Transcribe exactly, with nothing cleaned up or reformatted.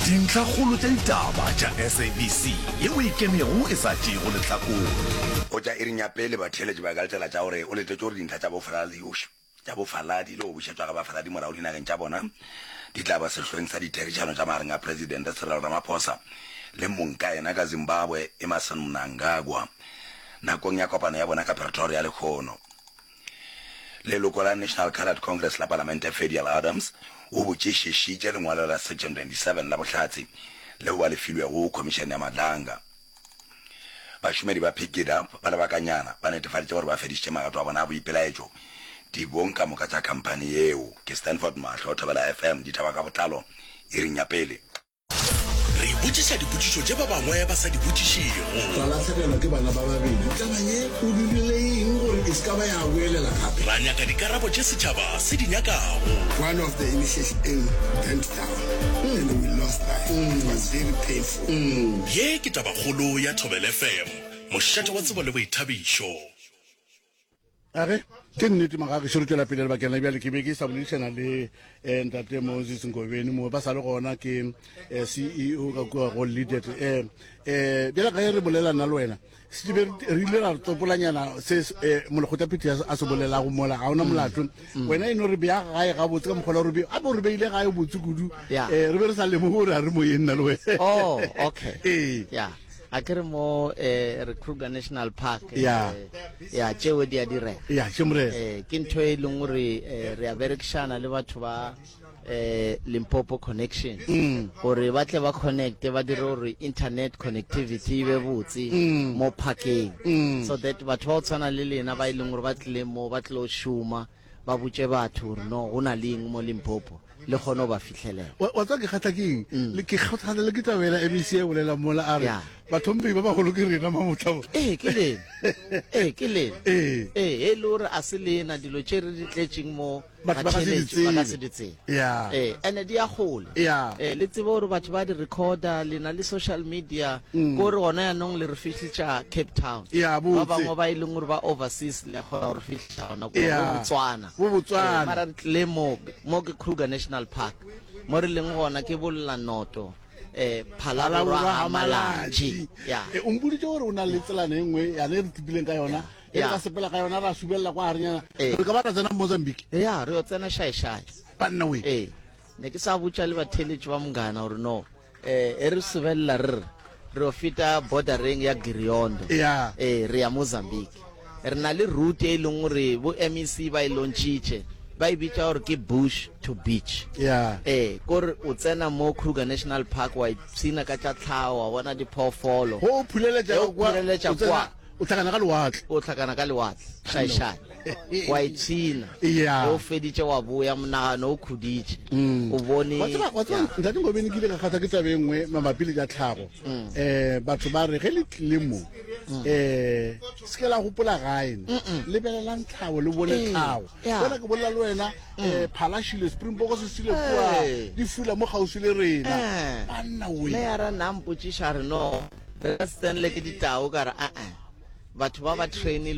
Dintlhakgolo tša ditaba tša S A B C yeo e kemego e sa tšeego lehlakore. Go tša iring ya pele, batheeletši ba ka letela tša gore o letetše gore dintlha tša bofaladi tša bofaladi le go bušetšwa ga bafaladi morago dinageng tša bona di tla ba sehloeng sa ditherišano tša magareng a Presidente Cyril Ramaphosa le mongkayena ka Zimbabwe Emmerson Mnangagwa nakong ya kopano ya bona ka Pretoria lehono. Leloko la National Coloured Congress la Palamente Ferdial Adams o botšišišitše lengwalo la Section twenty-seven la bohlatse leo ba le filwego Khomišene ya Madlanga. Bašomedi ba Pikitup ba lebakanyana ba netefaditše gore ba fedišitše magato a bona a boipelaetšo dibong ka moka tša khamphani yeo. Ke Stanford Mahlo, Thobela F M, ditaba ka botlalo iring ya pele. Re botšiša dipotšišo tše ba bangwe ba sa di botšišego. Ra lahlegelwa ke bana ba babedi. Taba ye o dirile eng gore e se ka ba ya boelela gape? Ra nyaka dikarabo tše setšhaba se di nyakago. One of the initiation bent down and we lost life. It was very painful. Ye ke tabakgolo ya Thobela F M, mošate wa tsebo le boithabišo. Age ke nnete, magagešo, re tšwela pele lebakeng la bjale. Ke be ke sa boledišana le eh, ntate Moses Nkobeni mo ba sa le gona, ke eh, C E O ka kua go Leadet. um um bjale ka ge re bolela nna le wena sebe re ile ra re tsopolanyana se eh, molekgotlaphetho a se bolelago mola, ga ona molato. Wena e no re bea gae gabotse ka mokgola gore a bo re beile gae botse kudu. Yeah. um re be re sa lemoge gore a re moyeng nna le wena. Oh, okay. Ee. Ya, a ke re mo eh re Kruger National Park. Ya. eh, ya tšeo di a direga. Ya, tše morena. eh ke ntho e leng gore eh, re a berekišana le batho ba eh Limpopo Connection gore ba tle ba connect, ba dire gore internet connectivity e be botse mo parkeng, so that batho ba go tshwana le lena ba e leng gore ba tlile mo, ba tlilo šoma, ba botse batho gore no go na le eng mo Limpopo, le kgone go ba fitlhelela. Wa wa tseba ke kgatha ke eng? Le ke kgatha le ke tabela M E C e bolela mola a re Ya. bathomphei ba bagolo ke rena mamotlabo. Ee, ke lena, ee, ke lena. Ee. Ee, e le gore a se lena dilo tše re di tletseng mo, Batho ba ka se di batheeletši ba ka tsebe. se di tsebe. Ya. Ee, ene di ya kgole. Ya. Ee, le tsebe gore batho ba di recorda, le na le social media, ko gore gona yanong le re fihlitša Cape Town. Ya, ba botse. Bangwe ba e leng gore ba overseas, le kgona gore fihlitša gona kua Ya. bo Botswana. Bo Botswana. Ee, mara re tlile mo mo ke Kruger National Park, mo re leng gona ke Bollanoto, um Phalaborwa ga Malatji, ya. E, o mpoditse gore o na le tselana e nngwe yane e re tsepileng ka yona, e re Ya. ka sepela ka yona ra subelela kwa garenyana, Ee. re ka ba ra tsena Mozambique. Ya, re yo tsena Xai-Xai. Banna we! Ee, ne ke sa botša le batheletši ba Monghana gore no um e re subelela, re re re yo feta bordereng ya Giriyondo. Ya. Ee, re ya Mozambique. Re na le route e leng gore bo M E C ba e launchitše, ba e bitša gore ke Bush to Beach. Ya. Ee, kore o tsena mo Kruger National Park, wa ipshina ka tša tlhago, wa bona diphoofolo. Go o phuleletša Ge o ka kwa, phuleletša o tsena- kwa. O hlakana ka lewatle. O hlakana ka lewatle Xai-Xai, wa ipshina. Ya. Ge o feditše wa boya, monagano o khuditše, o bone. Wa tseba, wa tseba, Ya. ntate Ngobeni, ke ile ka kgatha ke taba e nngwe mabapi le tša tlhago. um batho ba re ge le tlile mo, um se ke la gopola gae ne, lebelelang tlhago, le bone Ee, tlhago. ya. Bona ke bolela le wena, um phalashile, springbok se sile kua, Ee. di fula mo kgauswi le rena. Eh. Banna we! Meyara nna mpotšiša re no re ka se tsenele ke ditao, ka re aa, batho ba ba trainilwe.